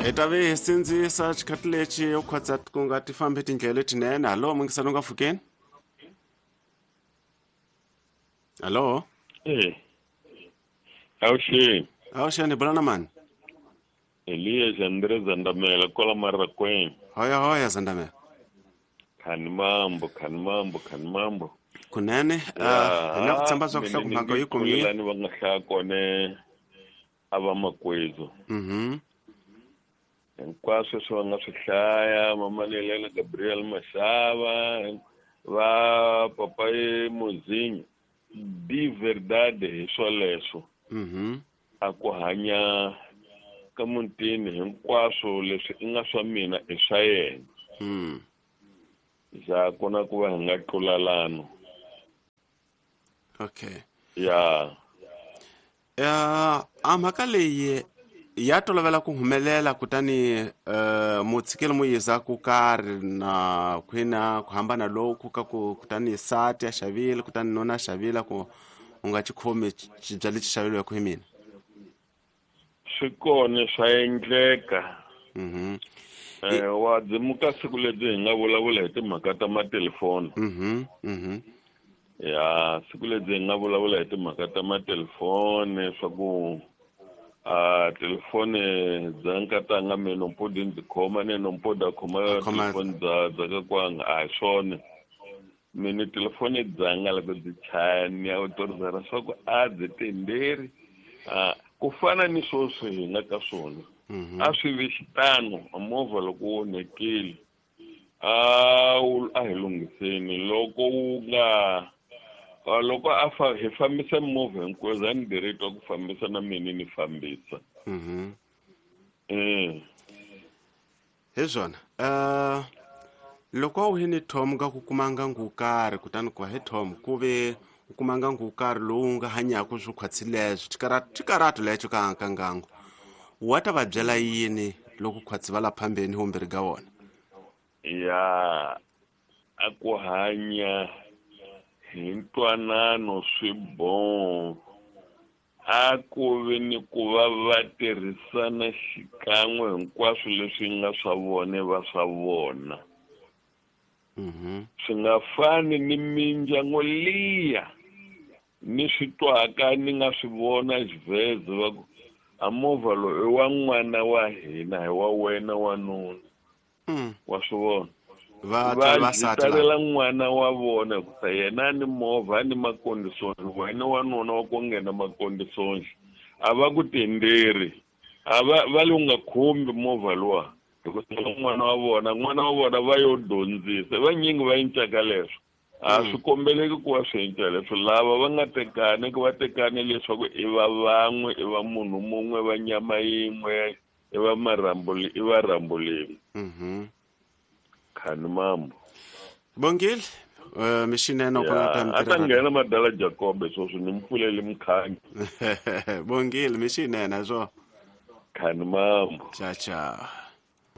Hi ta ve hi sindzisa xikhathi lexi u khotsa ku nga ti fambi tindlela letinene. Hallo, mungisani u nga pfukeni. Hallo. Eh. Avuxeni. Avuxeni, bula na mani? Elias Andre Zandamela kwala Marrakweng. Hoya hoya Zandamela. Khani mambo, khani mambo, khani mambo. Kunene, hi na ku tshemba swa ku hlaya mhaka yi kumile. Lani va nga hlaya kone a va makwezu. Hinkwaswo leswi va nga swi hlaya, Mama Lelela Gabriel Mashava, va Papa Mozinho, di verdade hi swoleswo. A ku hanya ka mutini hinkwaswo leswi i nga swa mina i swa yena. Ja ku na ku va hi nga tlulalano. Okay. Ya. A mhaka leyi ya tolovela ku humelela kutani mutshikeli mu yiza ku karhi na khwina ku hambana loku ka ku kutani sati a xavile kutani nuna a xavile ku u nga xi khomi xibya lexi xaveriweke hi mina. Swi kona swa endleka. Wa dzimuka siku lebyi hi nga vulavula hi timhaka ta matelefoni. Ya, siku lebyi hi nga vulavula hi timhaka ta matelefoni swa ku a telefoni bya nkatanga mina nompodi ndzi khoma ne nompodi a khoma telefoni bya bya ka kwanga a hi swona. Mina telefoni dzanga loko byi chaya ni ya autorizara swa ku a byi tenderi ku fana ni sweswi hi nga ka swona. A swi vi xitano movha loko wu onhekile a hi lunghiseni loko wu nga loko a hi fambisa movha hinkwayo za ni diretwa ku fambisa na mina ni fambisa. Hi swona. Loko a wu hi ni Tom ka ku kuma ngangu wo karhi kutani ku va hi Tom ku ve u kuma ngangu wo karhi lowu nga hanyaka swo khwatsi leswo xikarato lexo ka ka ngangu wa ta va byela yini loko khwatsi va la phambeni vumbirhi ka vona? Ya, a ku hanya hi ntwanano swi bon a ku vi ni ku va va tirhisana xikan'we hinkwaswo leswi nga swa vona va swa vona. Swi nga fani ni mindyangu liya ni swi twaka ni nga swi vona xivheze va ku a movha lowu i wa n'wana wa hina hi wa wena wanuna. Wa swi vona. Va Va jitalela n'wana wa vona hikusa yena ni movha ni makondisoni wena wanuna wa ku nghena makondisoni a va ku tenderi a va va le u nga khumbi movha luwa hikusa n'wana wa vona n'wana wa vona va yo dyondzisa vanyingi va encaka leswo a swi kombeleki ku va swi enca leswo lava va nga tekani ku va tekani leswaku i va van'we i va munhu mun'we va nyama yin'we i va marhambu i va rhambu lin'we. Khani mambo. Bongile, mixinene u kona ta a ta nghena madala Jacob sweswi ni mpfulele mukhanyo. Bongile, mixinene swo. Khani mambo. Cha cha.